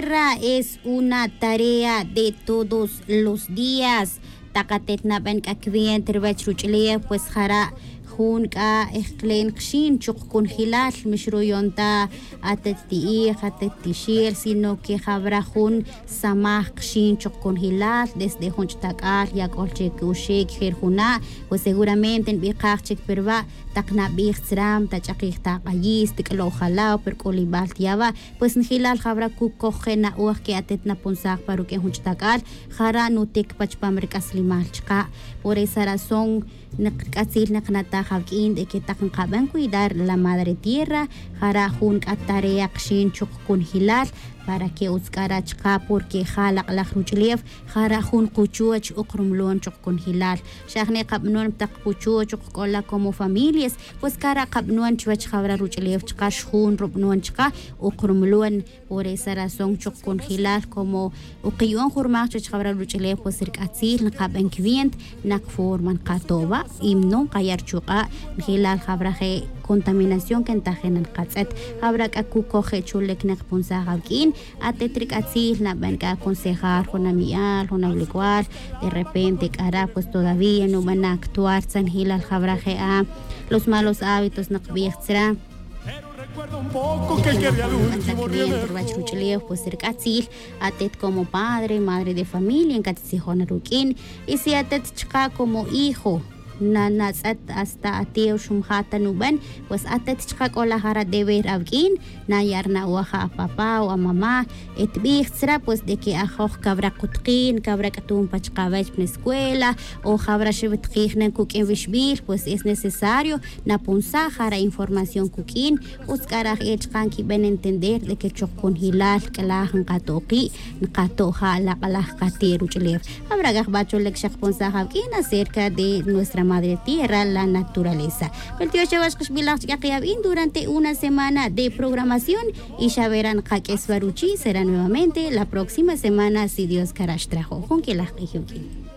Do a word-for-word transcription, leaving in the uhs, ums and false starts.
Ra es una tarea de todos los días. Tak atet naben k'a cuenta ruwech ruch'ulew pues jara' jun k'a ejklen kxin chuq kunjilal, mixruyon ta atet ti'ij, atet tixil, sino que jawra jun samaj kxin chuq kunjilal desde jun ch'utak'al yak'ol che kuxik jer juna'. Pues seguramente nbikaj chik perwa' tak nabij tzra, tach'akij ta ak'ayis tik'lo' jalaw per k'olibal tiyawa'. Pues njilal jawra kukoj je na'oj ke atet napunsaj pa ruk'in jun ch'utak'al, jara' nutik pa chupam rik'aslimal chaka'. Por esa razón, nek rik'atzil naqnataj awik'in de que tak nqaben cuidar la madre tierra, jara' jun k'a tarea kxin chuq kunjilal para que utz k'a ra chaka, porque ja lak'laj ruch'ulew jara' jun kuchuch uqrumlon chuq kunjilal. Xa jne' qab'anon taq kuchuch uq k'ola como familias, pues kara' qab'anon chuwech jawra ruch'ulew chaka, xjun rub'anon chaka uq rumlon. Por esa razón chuq kunjilal como uq qiyon jurmaj chuwech jawra ruch'ulew, pues rik'atzil nqaben cuenta naq forma nqato' wa' y no nqaya' ruchuq'a'. Njilal jawra je' contaminación que ntajin nqatz'et, jawra k'a kukoj je' chulik nqapunsaj awik'in. Atet rik'atzil naben k'a aconsejar jun ami'al, jun awilk'wal, de repente k'ara' pues todavía nuben actuar tzanjilal jawra je' a los malos hábitos naqbij tzra. Pero recuerda un poco que quería el último ruwach ruch'ulew pues rik'atzil atet como padre, madre de familia nkatitzijon ruk'in. Y si atet chaka como hijo na natz'et hasta atew xumja' ta nuben, pues atet chaka k'ola jara' deber awik'in, naya' rina'oj a apapá o amamá, etbij tzra pues de que ajoj kawra kutqin, kawra k'atun pa chaka awech pa escuela o jawra xewetqij nen kuk'in wixb'il, pues es necesario napunsaj jara' información kuk'in. Utz k'a raj e chaka nkiben entender de que chuq kunjilal k'alaj nqato' qi', nqato' ja lak'laj qate' ruch'ulew. Jawra k'a jb'a' chulik xaqpunsaj awik'in acerca de nuestra madre tierra, la naturaleza. Wel tiox chawach qixb'ilaj chik'aq yab'in durante una semana de programación y xawera nqak'es wa ruchi' será nuevamente la próxima semana si Dios kara' xtrajo'. Jun k'ilaj q'ij yuk'in.